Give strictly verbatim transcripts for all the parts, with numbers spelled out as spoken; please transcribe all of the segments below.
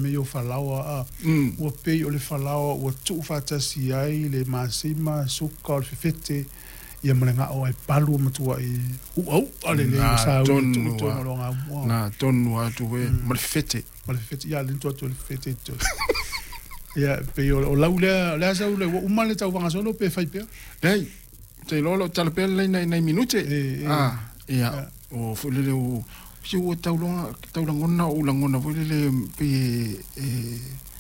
Me o falaoa a ua pei o le falaoa ua tuufaatasi ai le masima suka o le fefete ia ma le gao ai palu o matuai uau'a lelei o saui tu'u o logaumua na tonu atu e ma le fefete ma le fefete ia le atu le fefete to ia pei o lau lea lea sau le ua uma le tauvaga solo pe fai pea lei te lolo talapea le nai nai minute ah ia o foi le o si ua taulonga taulangona o ulangona foi le pe e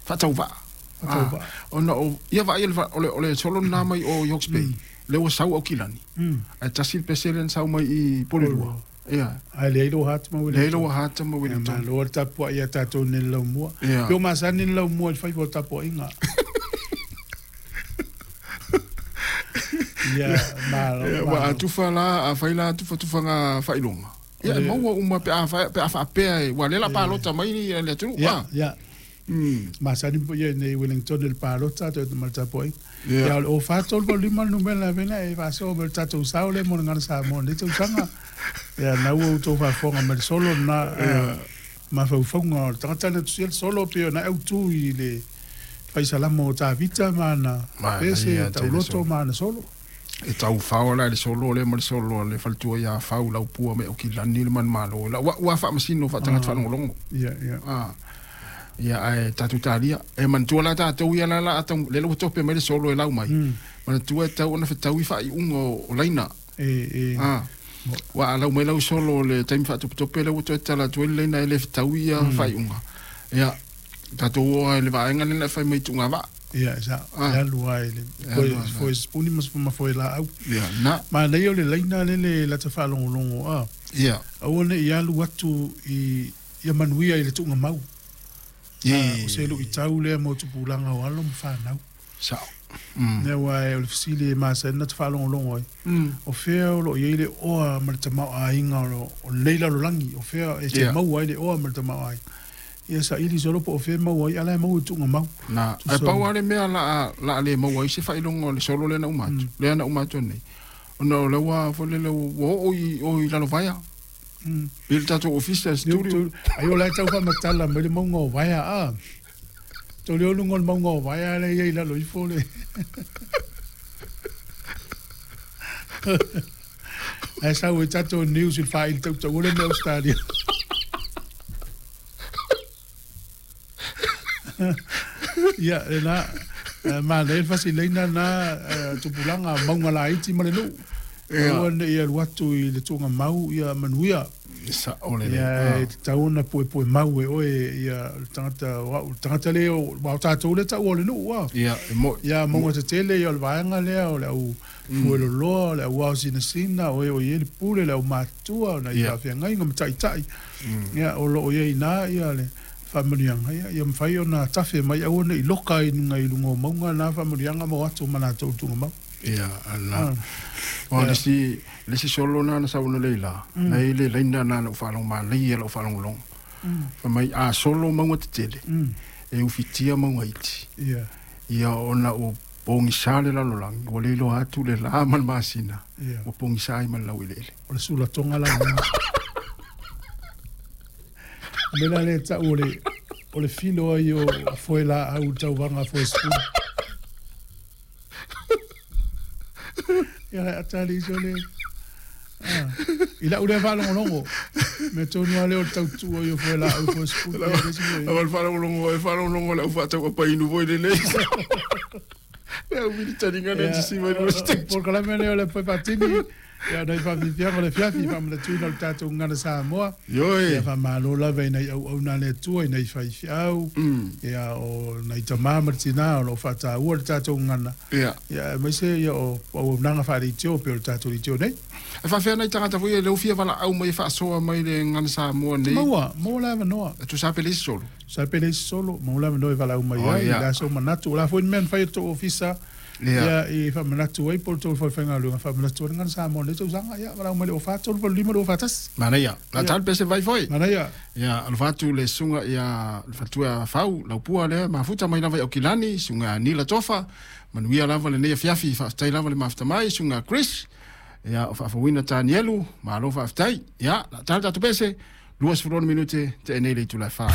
faatauvaa faatauvaa ona o ia vaai o le o le solo na mai o Hawke's Bay le ua sau au kilani ai tasi peselen sau mai i Porirua ia ai le ilo hat ma le ilo hat ma Wellington ma lo tapua ia tatou ne laumua pe o masani le laumua i fai o tapua inga ia ma wa atufa la a fai la atufa tufanga failonga ia maua uma pe a pe a faapea e ua le la palota mai ni le atunuu ia ia masani ia nei Wellington le palota to ma tapo ia o fa tolu lima numera vena e faso me tatou sao le mo ngana sa mo le tausaga ia na ua tou faafofoga ma le solo na mafaufaga o le tagata na tusia le solo pe na autu i le faisalama o Tavita ma ana pese tauloto ma ana solo e tau fao la le solo le ma le solo le faletua ia fau lau pua me o kilani le manumalo la ua ua faamasino faatagata faalogologo ia ia ah ia ae tatou talia e manatua la tatou ia la la atau le ua tope mai le solo e lau mai manatua e tau ona fetaui faaiuga o laina e e ah ua lau mai lau solo le taimi faatopetope le ua toe tala atu ai le laina e le fetaui ia faaiuga ia tatou o ai le vaega lena e fai mai tuuga vaa ia sa alu ai le foi foi spuni mas ma foi la au ia na ma nei o le laina le le lata faalogologo a ia aua ne i alu atu i ia manuia i le tuuga mau ia o se luitau lea mo tupulaga o alo ma fanau sa ne ua e o le fesili e masani na te faalogologo ai o fea o loo iai le oa ma le tamaoaiga o lenei lalolagi o fea e te maua ai le oa ma le tamaoaiga ia saili solo po o fea maua ai ala e maua i tuuga mau na ae pau lava le mea la la le maua ai se faailoga o le solo lea na uma atu lea na uma atu nei ona o le ua foi lele ua oo i o i lalo vaea i le tatou ofisa studio ai o la e tau faamatala mai le mauga o vaea a tau le oluga o le mauga o vaea le ia i lalo ifo le ae sau e tatou news i le faaili tautaua le mea Australia ia lena ma nei le fasileina na tupulaga mauga laiti ma le nuu aua ne i alu atu i le tuuga mau ia manuia sa o le ia e tatau ona puepue mau e oe ia le tagata o au le tagata lea o tatou le taua o le nuu a ia e mo ia mauga tetele ia o le vaega lea o le au fueloloa o le au ao sinasina o e o i ai le pule le au matua na i faafeagaiga ma taʻitaʻi ia o loo iai ina ia le faamanuiaga ia ia mafai ona tafe mai aua ne i loka ai luga i luga o mauga na faamanuiaga ma o atu ma latou tuuga mau ia ala o le si le si solo na na sau na leila nei le laina na na faalogo malai ia lau faalogologo fa mai a solo mauga tetele e ufitia mauga iti ia ia ona o pogisa le lalolagi ua le iloa atu le lā ma le masina ua pogisa ai ma le laueleele o le sulatoga la mea le ta'u o le o le filo ai o foe laau tauvaga foe sipuni ia le atali iso le i lau lea faalogologo mea tonu a lea o le tautu'u ai o foe laau foe sipuni a le faalogologo e faalogologo le au faatauapainu foi lelei le au militariga le tisi mai le state polokalame lea o le foe faatini ia nai faafiafiaga o le fiafi faamanatuina o le tatou gagana Samoa ioe ia faamālō lava ina i auauna le Atua ina i faifeau ia o nai tamā ma le tinā o loo faataua le tatou gagana ia ia aemaise ia o auaunaga faaleitio pei o le tatou leitio nei e faafea nai tagata foi e le ufia valaau mai e faasoa mai le gagana Samoa nei maua maua le avanoa e tusa pe le isi solo sa pe le isi solo maua le avanoa e valaau mai ai le aso manatu o la foi ni mea na fai e le tou ofisa ia i faamanatu ai po o le tou faifaigaluega faamanatu ai le gagana Samoa nei tausaga ia valaau mai le o fa tolu valu lima lua fatasi manaia la tale pese vai foi manaia ia alofa atu le suga ia le faletua fau laupua lea mafuta mai lava i Aukilani suga Nila Tofa manuia lava lenei afiafi faafetai lava le mafuta mai suga Chris ia o faafouina Tanielu malo faafetai ia la tale tatou pese luasefulu ono minute te'e nei le itula e fa.